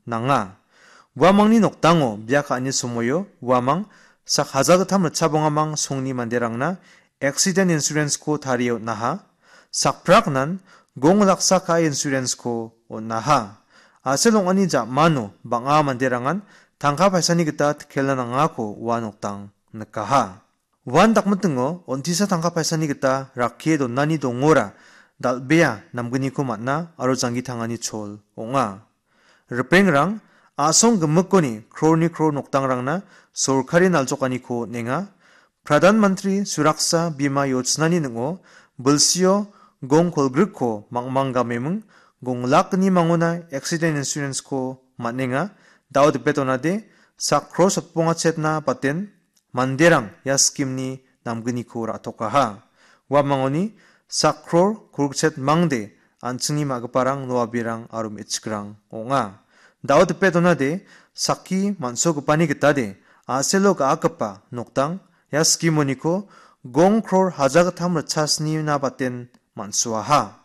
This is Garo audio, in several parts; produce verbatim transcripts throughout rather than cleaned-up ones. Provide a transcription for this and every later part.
nanga. Uamangni nokdango bia ka·ani somoio uamang sak hajalgittam ritchabongamang songni manderangna accident insurance-ko tarie on·aha. Sakpraknan gong laksa ka·e insurance-ko on·aha. A·sel ong·ani ja·mano bang·a manderangan tangka paisani gita tikela nangako ua nokdang nikaha. Uan dakmitingo on·tisa tangka paisani gita rakkie donani dongora dal·bea namgniko man·a aro janggi tangani chol ong·a. Ripengrang a·song gimikoni krorni kror nokdangrangna sorkari naljokaniko on·enga. Pradhan Mantri Suraksa Bima Yojnani ning·o bilsio gong kolgrikko mangmang gameming gong lakni mangona accident insurance-ko man·enga. Dao dipe donade sak kro sotbonga chetna baten manderang ia scheme-ni namgniko ra·tokaha. Uamangoni sak kror kolgrikchet mangde an·chingni ma·giparang, noabirang aro me·chikrang ong·a. Dao dipe donade sakki man·sogipani gitade a·selo ga·akgipa nokdang ia scheme-oniko gong kror hajalgittam ritchasnina baten man·suaha.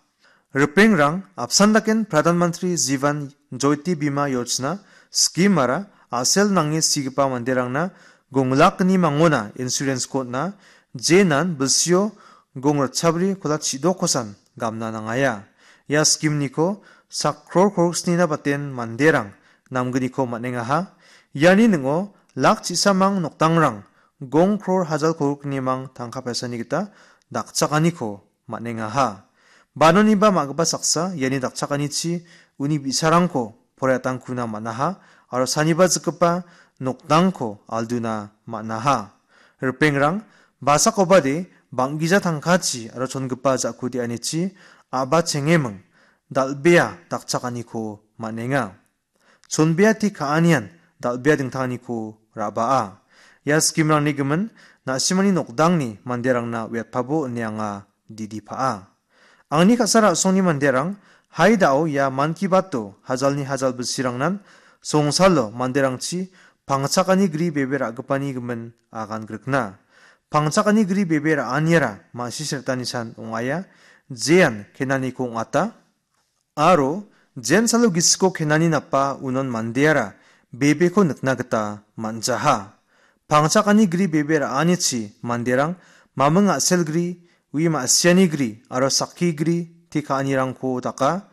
Ripengrang apsan daken Pradhan Mantri Jivan Jyoti Bima Yojna scheme-ara a·sel nange sigipa manderangna gong lakni mangona insurance-ko on·a, jenan bilsio gong ritchabri kolat chidokkosan gamna nangaia. Ia scheme-niko sak kror kolgriksnina baten manderang namgniko man·engaha. Iani ning·o lak chisamang nokdangrang gong kror hajal kolgriknimang tangka paisani gita dakchakaniko man·engaha. Banoniba ma·gipa saksa iani dakchakanichi uni bi·sarangko poraiatangkuna man·aha aro saniba jikgipa nokdangko alduna man·aha. Ripengrang, basakobade bang·gija tangkachi aro chongipa ja·ku de·anichi a·ba chengeming dal·bea dakchakaniko man·enga. Chonbea te ka·anian dal·bea dingtanganiko ra·baa. Ia scheme-rangni gimin na·simani nokdangni manderangna uiatpabo ine anga didipa·a. Angni ka·sa ra·songni manderang, hai da·o ia Mann Ki Bato hajalni hajal bilsirangnan songsalo manderangchi pangchakani gri bebe ra·gipani gimin agan grikna. Pangchakani gri bebe ra·aniara ma·sisretanisan ong·aia, jean kenaniko ong·ata. Aro jensalo gisiko kenani napa unon mandeara bebeko nikna gita man·jaha. Pangchakani gri bebe ra·anichi manderang maming a·sel gri, ui ma·siani gri aro sakki gri te ka·anirangko daka.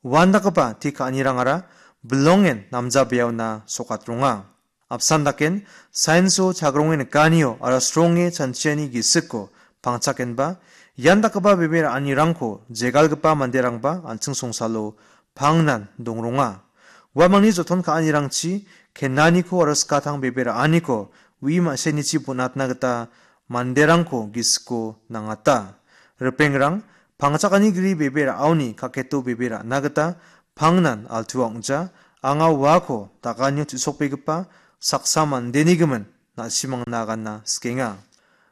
Uandakgipa te ka·anirangara bilongen namjabeaona sokatronga. Apsan daken, sainso chagronge nikanio aro sronge chanchiani gisiko pangchakenba, ian dakgipa bebe ra·anirangko jegalgipa manderangba an·ching songsalo pangnan dongronga. Uamangni joton ka·anirangchi kenaniko aro skatang bebe ra·aniko ui ma·senichi bonatna gita manderangko gisiko nangata. Ripengrang, pangchakani gri bebe ra·aoni kaketo bebe ra·na gita pangnan altua ong·ja, anga uako daganio chu·sokbegipa saksa mandeni gimin na·simangna aganna sikenga.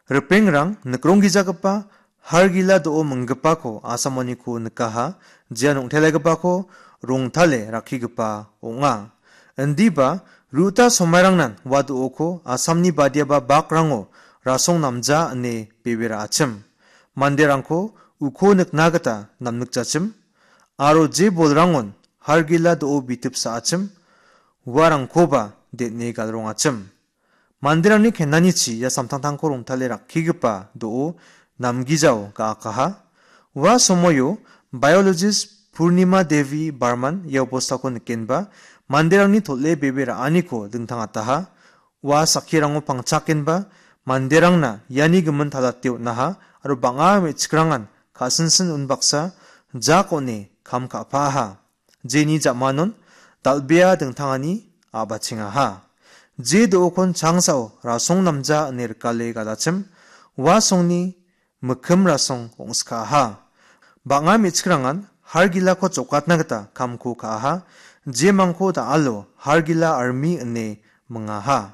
Ripengrang nikronggijagipa hargila do·o minggipako asamoniko nikaha, jean ong·telegipako rongtale rakkigipa ong·a. Indiba ruta somairangnan ua do·oko Asamni badiaba bakrango rasong namja ine bebe ra·achim. Manderangko uko nikna gita namnikjachim. Aro je bolrangon hargila do·o bitip sa·achim, uarangkoba den·e galrongachim. Manderangni kenanichi ia samtangtangko rongtale rakkigipa do·o namgijao ga·akaha. Ua somoio biologist Purnima Devi Barman ia obostako nikenba manderangni tol·e bebe ra·aniko dingtangataha. Ua sakkirango pangchakenba manderangna iani gimin talate on·aha aro bang·a me·chikrangan ka·sinsin unbaksa jak on·e kam ka·paaha. Jeni ja·manon dal·bea dingtangani a·bachengaha. Je do·okon changsao rasong namja ine rikale galachim, ua songni mikkim rasong ong·skaha. Bang·a me·chikrangan hargilako jokatna gita kamko ka·aha. Jemangko da·alo hargila armi ine mingaha.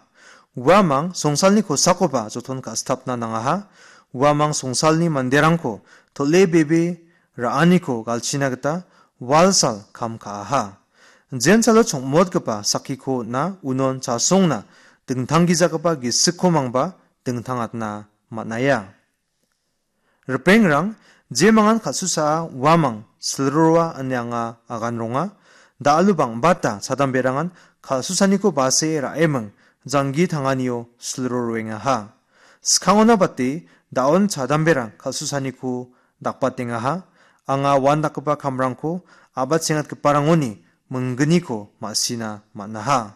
Uamang songsalni kosakoba joton ka·sitapna nangaha. Uamang songsalni manderangko tol·e bebe ra·aniko galchina gita walsal kam ka·aha. Jensalo chongmotgipa sakkiko on·a, unon chasongna dingtanggijagipa gisikko mangba dingtangatna man·aia. Ripengrang, jemangan kal·susaa uamang silroa ine anga agan ronga. Da·alo bang·bata chadamberangan kal·susaniko base ra·eming janggi tanganio silro roengaha. Skangona bate da·on chadamberang kal·susaniko dakbatengaha. Anga uandakgipa kamrangko a·bachengatgiparangoni minggniko ma·sina man·aha.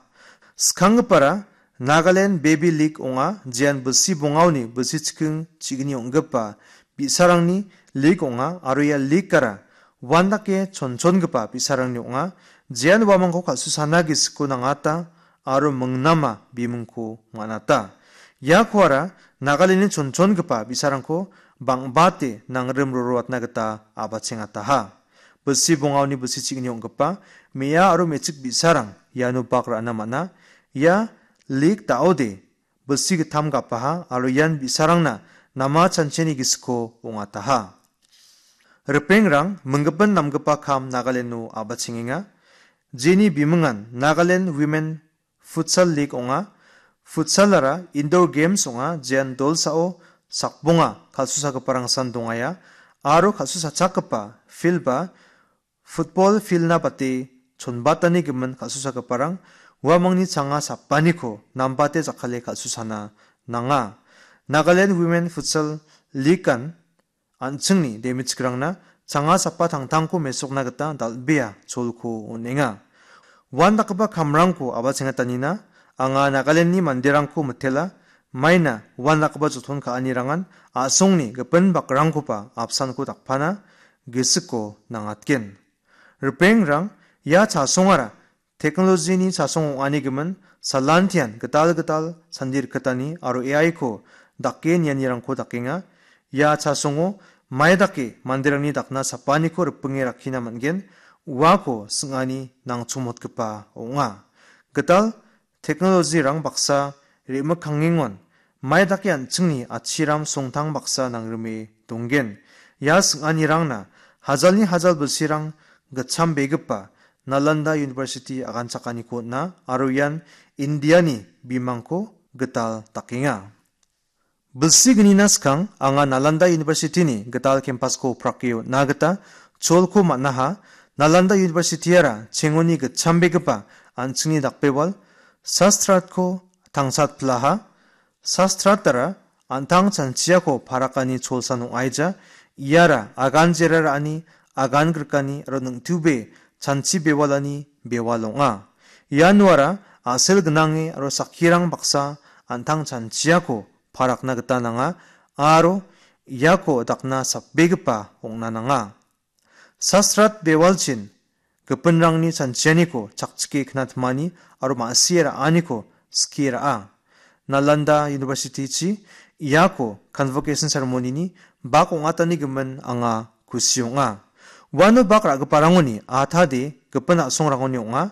Skanggipara Nagaland Baby League ong·a, jean bilsi bongaoni bilsi chiking chigni ong·gipa bi·sarangni league ong·a aro ia league-ara uandake chonchongipa bi·sarangni ong·a. Jean uamangko kal·susana gisiko nangata aro mingnama bimingko man·ata. Iakoara Nagalandni chonchongipa bi·sarangko bang·bate nangrim roroatna gita a·bachengataha. Bilsi bongaoni bilsi chigni ong·gipa me·a aro me·chik bi·sarang iano bak ra·na man·a. Ia league da·ode bilsi gittam gapaha aro ian bi·sarangna nama chancheni gisiko ong·ataha. Ripengrang minggipin namgipa kam Nagaleno a·bachengenga. Jeni bimingan Nagaland Women Futsal League ong·a. Futsalara indoor games ong·a, jean dolsao sakbonga kal·susagiparangsan dongaia aro kal·susachakgipa field-ba football field-na bate chonbatani gimin kal·susagiparang uamangni changa sapaniko nambate jakkale kal·susana nanga. Nagaland Women Futsal League-an an·chingni demichikrangna changa sapa tangtangko mesokna gita dal·bea cholko on·enga. Uandakgipa kamrangko a·bachengatanina anga Nagalandni manderangko mitela, maina uandakgipa joton ka·anirangan a·songni gipin bakrangkoba apsanko dakpana gisiko nangatgen. Ripengrang, ia chasongara teknolojini chasong ong·ani gimin salantian gital gital sandi rikgitani aro A I-ko dake nianirangko dakenga. Ia chasongo mai dake manderangni dakna sapaniko ripinge rakkina man·gen, uako sing·ani nangchomotgipa ong·a. Gital teknolojirang baksa re·mikangengon mai dake an·chingni atchiram songtang baksa nangrime donggen. Ia sing·anirangna hajalni hajal bilsirang gitchambegipa Nalanda University aganchakaniko on·a aro ian Indiani bimangko gital dakenga. Bilsi gnina skang anga Nalanda University-ni gital campus-ko prake on·na gita cholko man·aha. Nalanda University-ara chengoni gitchambegipa an·chingni dakbewal Sastratko tangsatpilaha. Sastratara an·tang chanchiako parakani cholsan ong·aija. Iara agan jera ra·ani, agan grikani aro ningtube chanchi bewalani bewal ong·a. Ianuara a·sel gnange aro sakkirang baksa an·tang chanchiako parakna gita nanga aro iako dakna sapbegipa ong·na nanga. Sastrat bewalchin gipinrangni chanchianiko chakchike knatmani aro ma·sie ra·aniko skie ra·a. Nalanda University-chi iako convocation ceremony-ni bak ong·atani gimin anga kusi ong·a. Uano bak ra·giparangoni atade gipin a·songrangoni ong·a.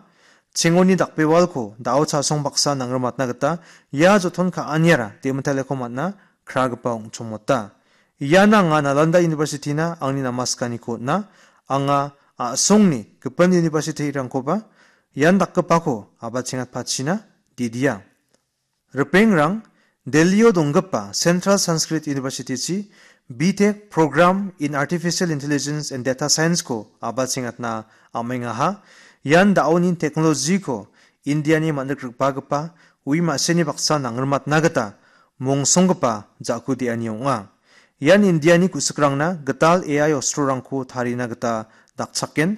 Chengoni dakbewalko da·o chasong baksa nangrimatna gita ia joton ka·aniara demitaleko man·a kragipa ong·chongmota. Ian anga Nalanda University-na angni namaskaniko on·a. Anga a·songni gipin university-rangkoba ian dakgipako a·bachengatpachina didia. Ripengrang, Delhi-o donggipa Central Sanskrit University-chi B Tech Program in Artificial Intelligence and Data Science-ko a·bachengatna am·engaha. Ian da·oni technology-ko India-ni man·rik rikbagipa ui ma·seni baksa nangrimatna gita mongsonggipa ja·ku de·ani ong·a. Ian Indiani ku·sikrangna gital A I ostrorangko tarina gita dakchaken.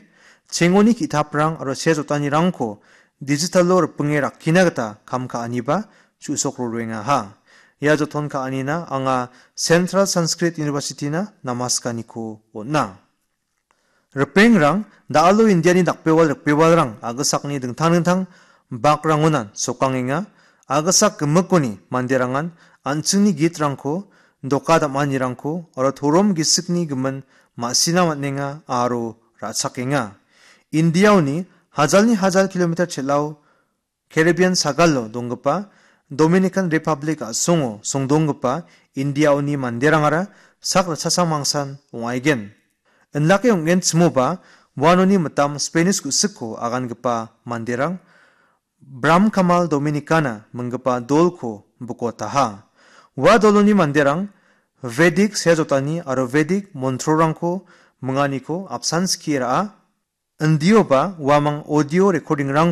Chengoni ki·taprang aro sea jotanirangko digital-o ripinge rakkina gita kam ka·aniba chu·sok roengaha. Ia joton ka·anina anga Central Sanskrit University-na namaskaniko on·a. Ripengrang, da·alo Indiani dakbewal rikbewalrang a·gisakni dingtang dingtang bakrangonan sokangenga. A·gisak gimikoni manderangan an·chingni gitrangko, doka dam·anirangko aro torom gisikni gimin ma·sina man·enga aro ra·chakenga. Indiaoni hajalni hajal kilometer chel·ao Caribbean sagalo donggipa Dominican Republic a·songo songdonggipa Indiaoni manderangara sak ritchasang mangsan ong·aigen. Indake ong·genchimoba uanoni mitam Spanish ku·sikko agangipa manderang Bram Kamal Dominicana minggipa dolko bikotaha. Ua doloni manderang Vedic sea jotani aro Vedic montrorangko minganiko apsan skie ra·a. indioba uamang audio recording-rang